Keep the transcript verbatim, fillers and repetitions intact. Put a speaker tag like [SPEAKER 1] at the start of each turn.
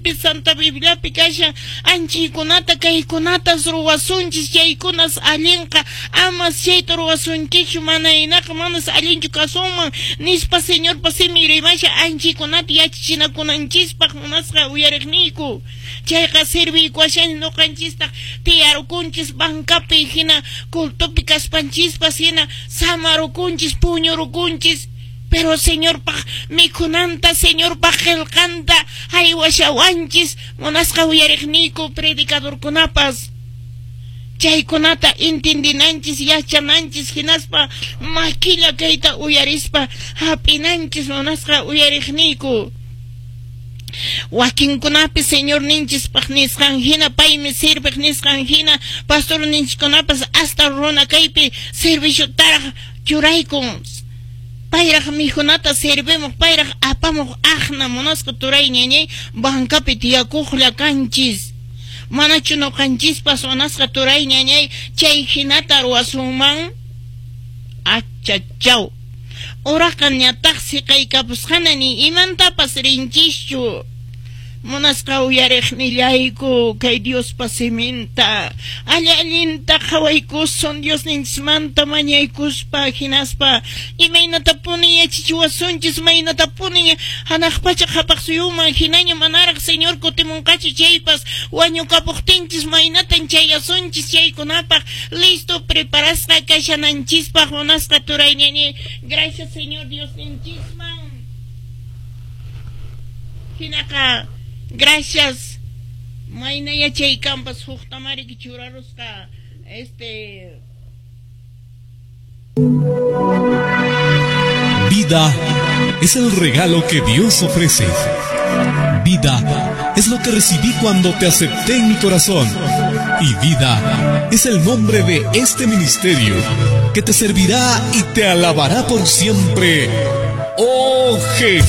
[SPEAKER 1] siminpi Santa Bibliapi kashan anchaykunata kaykunatas ruwasunchis chaykunas allinqa amas chayta ruwasunchikchu mana hinaqa manas allinchu kasunman nispa Señorpa simin rimashan anchaykunata yachachinakunanchispaq munasqa uyariqniyku chayqa serviykuwashan ñuqanchistaq tiyarukunchis bancapi hina cultopi kaspanchispas hina samarukunchis puñurukunchis pero Señorpaq mikhunanta Señorpaq qillqanta haywashawanchis munasqa uyariqniyku predicadorkunapas chaykunata entendinanchis yachananchis hinaspa makilla kayta uyarispa hap'inanchis munasqa uyariqniyku wakinkunapi Señor ninchispaq nisqan hina paymi sirviq nisqan hina pastor ninchikunapas hasta runa kaypi serviciotaraq churaykun payraq mikhunata servimuq payraq apamuq aqna munasqa turay ñañay bancapi tiyakuqlla kanchis manachu ñuqanchispas munasqa turay ñañay chay hinata ruwasunman achachaw uraqa ñataq siqaykapusqana ni imantapas rinchischu munasqa uyariqnillayku kay Diospa siminta alli allinta qhawaykusun Diosninchismanta mañaykuspa hinaspa imaynatapuni yachachiwasunchis maynatapuni hanaq pacha qhapaq suyuman hinaña manaraq Señor kutimunqachu chaypas wañukapuqtinchis maynatan chayasunchis chaykunapaq listo preparasqa kashananchispaq munasqa turay ñañay gracias Señor Diosninchisman hinaqa gracias mayna yachaykanpas huktamariki churarusqa este
[SPEAKER 2] Vida es el regalo que Dios ofrece. Vida es lo que recibí cuando te acepté en mi corazón. Y vida es el nombre de este ministerio que te servirá y te alabará por siempre. ¡Oh Jesús!